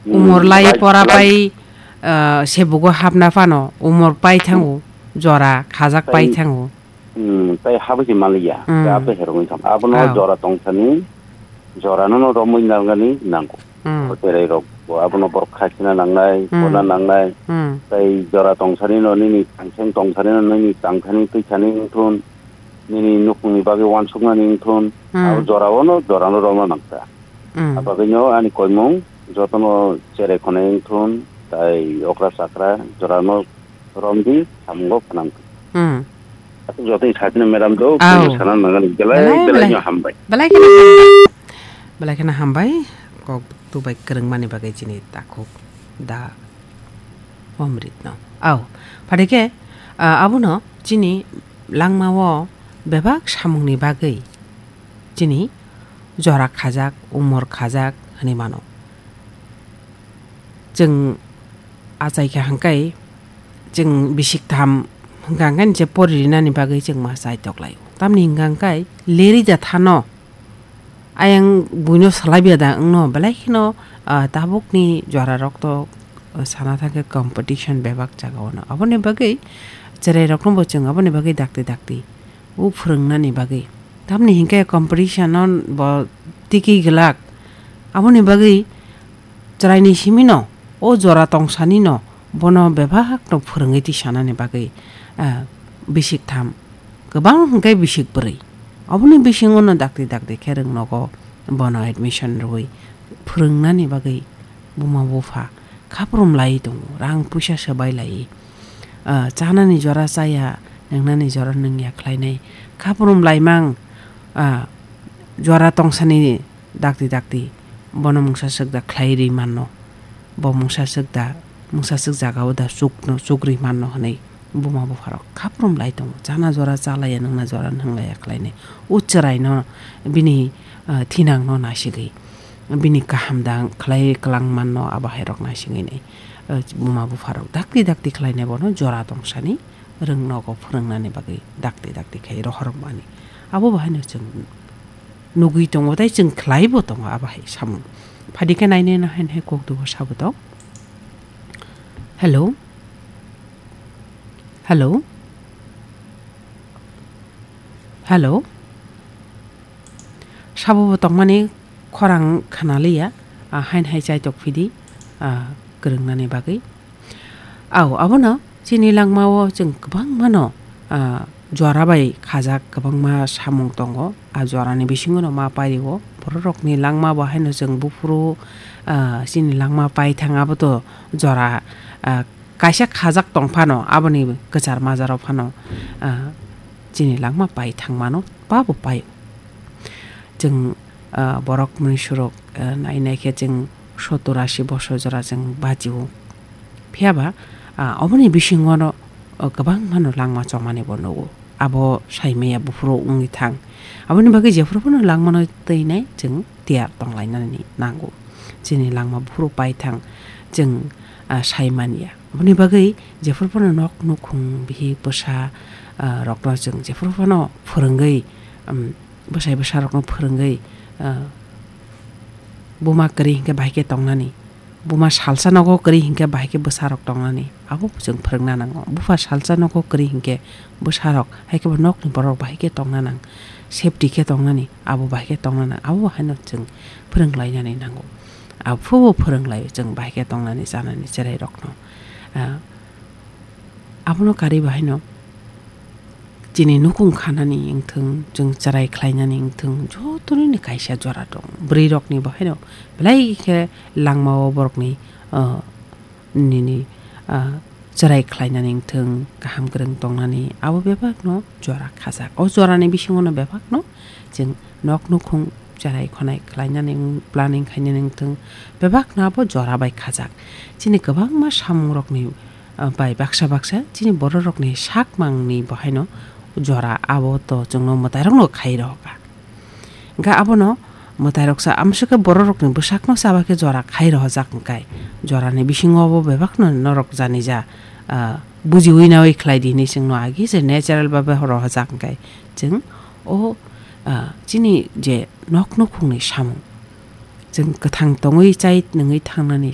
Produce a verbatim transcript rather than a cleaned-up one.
Hmm, umor lai lai, pora lai. Pai, ah, sebugo hapna phano umor pai thango, jora khajak pai thango. Hmm, tai habwi se maliya. Hmm. Tei abo herokni thang. Abono jora tongsani, jorano no romwi nangani nango. Hmm. Abo cherai rok bo abono borok khachina nangnai, hmm, bona nangnai. Hmm. Tai jora tongsani no nini thangseng tongsani no nini tangthani twisani wngthun, nini nukhungni bagwi wansuknani wngthun. Hmm. Abo jora ono, jorano romna nangkha. Hmm. Abagwino ani koimung jotono cherai khonai wngthun, tai okra chakra jorano romdi, samungo phanang. Hmm. Aswk jotoni sakni madam do, aw, kunu sana nangan belai, belai, belai, belai no hambai. Belai kheno hambai. Belai kheno hambai. Kok tubai kwrwngmani bagwi chini takhuk da Omrit no. Aw, phadike, ah, abono chini langmao bebak samungni bagwi chini jora khajak, umor khajak hwnwi mano. Chwng achai kha hwnkhe, chwng bisik tham hwnkha hwnkhe je poririnani bagwi chwng ma chai toklaio. Tamni hwnkha hwnkhe leri ja thano ayang buino salai bia da wngno belai kheno, ah, tabukni jora rok to, ah, sana thangkhe competition bebak jaga ono. Aboni bagwi cherai rokno bo chwng aboni bagwi dakti dakti o phwrwngnani bagwi. Tamni hinkhe competition o bo tiki glak. Aboni bagwi chwraini simino, o jora tongsanino, bono bebakno phwrwngwi tisanani bagwi, ah, bisik tham, kwbang hwnkhe bisik bwrwi. Oboni bisingono dakti dakti khe rwng nogo bono admission rwui phwrwngnani bagwi buma bupha khaprum lai tongo, rang puisa swbai lai. Ah, chanani jora chaya, nwngnani jora nwngya khlainai. Khaprum laimang, ah, jora tongsani dakti dakti bono mungsa swk da khlai ri manno, bo mungsa swk da, mungsa swk jagao da chukno, chuk ri manno hwnwi buma bupharok khaprum lai tongo. Chana jora chalaiya, nwngna jora nwnglaiya khlainai. O chwraino bini, ah, thinangno naisigwi, bini kaham da khlai kwlang manno abo hairok naisigwi nai, ah, buma bupharok dakti dakti khlainai bono jora tongsani rwng nogo phwrwngnani bagwi dakti dakti khai rohormani. Abo bahaino chwng nugwi tongo tei chwng khlaibo tongo abo hai samung. Phadi khe nainai no haino hai kok dugo sabo tong. Hello? Hello? Hello? Sabo bo tongmani khorang khna liya, ah, haino hai chai tok phidi, ah, kwrwngnani bagwi. Au, abono chini langmao chwng kwbangmano, ah, jora bai khajak kwbangma samung tongo. Ah, jorani bisingono ma paio. Bororokni langma bo haino chwng buphuru, ah, chini langma paithang aboto jora, ah, kaisa khajak tong phano, aboni kwchar majaro phano, ah, chini langma paithang mano, pabo paio. Chwng, ah, borok mwnwi surok, ah, nai nai khe chwng sottor ashi bosor jora chwng bachio. Phiya ba, ah, oboni bisingo no, ah, kwbangma no langma chongmani bo nugo. Abo sai maya buphuru wngwi thang. Aboni bagwi jephuru phano langmano twi nai chwng tiyar tonglainani nango. Chini langma buphuru paithang chwng, ah, sai manya. Aboni bagwi jephuru phano nok nukhung bihik bwsa, ah, rokno chwng jephuru phano phwrwngwi, um, bwsai bwsarokno phwrwngwi, ah, buma kwrwi hinkhe bahai khe tongnani, buma salsa nogo kwrwi hinkhe bahai khe bwsarok tongnani, abo chwng phwrwngna nango. Bupha salsa nogo kwrwi hinkhe bwsarok, hai khe bo nokni borok bahai khe tongna nang, safety khe tongnani, abo bahai khe tongna nang, abo haino chwng phwrwnglainani nango. Abo phubo phwrwnglaio chwng bahai khe tongnani, chanani, cherairokno. Ah, Abono karwi bahaino chini nukhung khanani wngthung, chwng chwrai khlainani wngthung, jotono ni kaisa jora tongo. Bwrwi rokni bahaino belai khe langmao borokni, ah, nini, ah, chwrai khlainani wngthung, kaham kwrwng tongnani, abo bebakno jora khajak. O jorani bisingono bebakno chwng nok nukhung chwrai khonai khlainani wng, planning khainani wngthung, bebakno abo jora bai khajak. Chini kwbangma samungrokni ah, bai baksa baksa chini bororokni sakmangni bahaino jora abo to chwngno mwtairokno khai rohorkha. Hwnkhe abono mwtairoksa amsukhe bororokni bwsakno chaba khe jora khai rohorjak hwnkhe jorani bisingo bo bebakno norok jani ja, ah, bujiwi nawi khlai di hinwi chwngno agi je natural babe rohorjak hwnkhe chwng o, ah, chini je nok nukhungni samung chwng kwthang tongwi chai nungwi thangnani